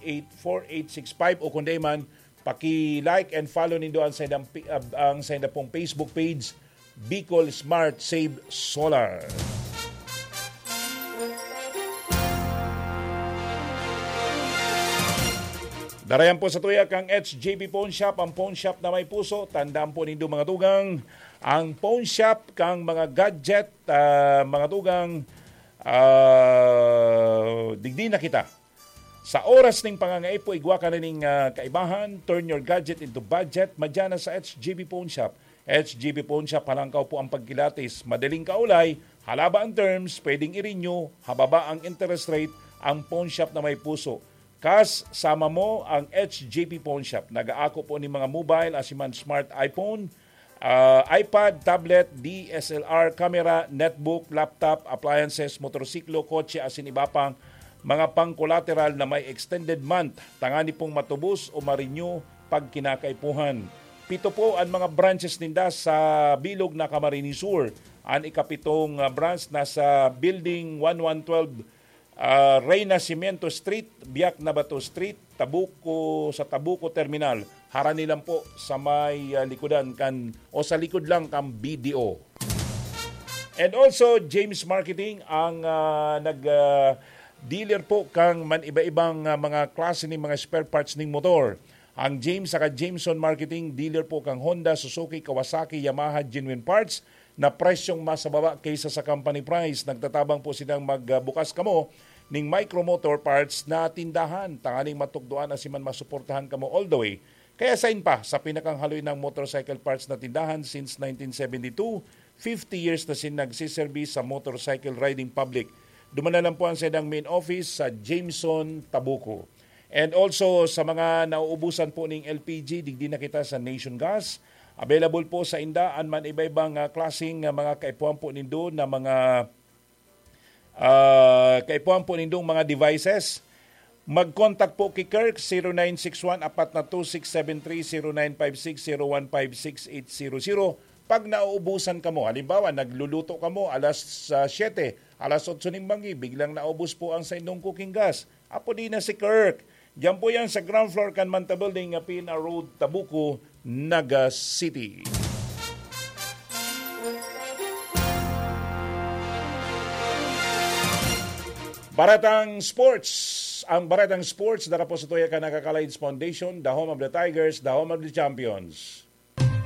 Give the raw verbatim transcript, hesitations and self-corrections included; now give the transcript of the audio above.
eight four eight six five, o kung di man, paki-like and follow nindo ang saindang pi-, ab-, ang sainda pong Facebook page, Bicol Smart Save Solar. Darayan po sa tuya kang H J P Pawn Shop, ang pawn shop na may puso. Tandaan po nindo, mga tugang, ang pawn shop kang mga gadget, ah, mga tugang, ah, digdi na kita. Sa oras ning pangangaipo, igwa ka na ning, ah, kaibahan, turn your gadget into budget, madya na sa H J P Pawn Shop. H J P Pawn Shop, halangkaw po ang pagkilatis, madaling kaulay, halaba ang terms, pwedeng i-renew, hababa ang interest rate, ang pawn shop na may puso. Kas, sama mo ang H J P Pawn Shop. Nag-aako po ni mga mobile, asiman smart iPhone, ah, iPad, tablet, D S L R camera, netbook, laptop, appliances, motorsiklo, kotse, asin iba pang mga pang-collateral na may extended month, tangani pong matubos o ma-renew pag kinakaipuhan. Pito po an mga branches ninda sa bilog na Camarines Sur. An ikapitong, ah, branch nasa Building one one twelve, ah, Renacimiento Street, Biak na Bato Street, Tabuco, sa Tabuco Terminal. Harani lang po sa may, ah, likodan kan, o sa likod lang kan B D O. And also, James Marketing ang, ah, nag, ah, dealer po kang man iba-ibang, ah, mga klase ning mga spare parts ning motor. Ang James saka Jameson Marketing, dealer po kang Honda, Suzuki, Kawasaki, Yamaha, genuine parts na presyong mas mababa kaysa sa company price. Nagtatabang po silang magbukas kamo ning Micro Motor Parts na tindahan, tanganing matukdoan na siman masuportahan kamo all the way. Kaya sain pa, sa pinakang haloy ng motorcycle parts na tindahan since nineteen seventy-two, fifty years na sin nagsiserbi sa motorcycle riding public. Duman na lang po ang saindang main office sa Jameson, Tabuco. And also, sa mga nauubusan po ning L P G, digdi na kita sa Nation Gas. Available po sa inda an man iba-ibang, ah, klaseng, ah, mga kaipuhan po nindo na mga, ah, kaipuhan po nindong mga devices. Mag-contact po ki Kirk, zero nine six one, apat na two six seven three, zero nine five six, zero one five six eight zero zero. Pag nauubusan kamo, halimbawa, nagluluto kamo alas, ah, siyete, alas otso ning banggi, biglang naubos po ang saindong cooking gas. Apo di na si Kirk. Diyan po yan sa ground floor kan Manta Building, ah, P N R Road, Tabuco, Naga City. Baretang Sports. Ang Baretang Sports, dara po sa tuya kan Nakakalids Foundation, the home of the Tigers, the home of the champions.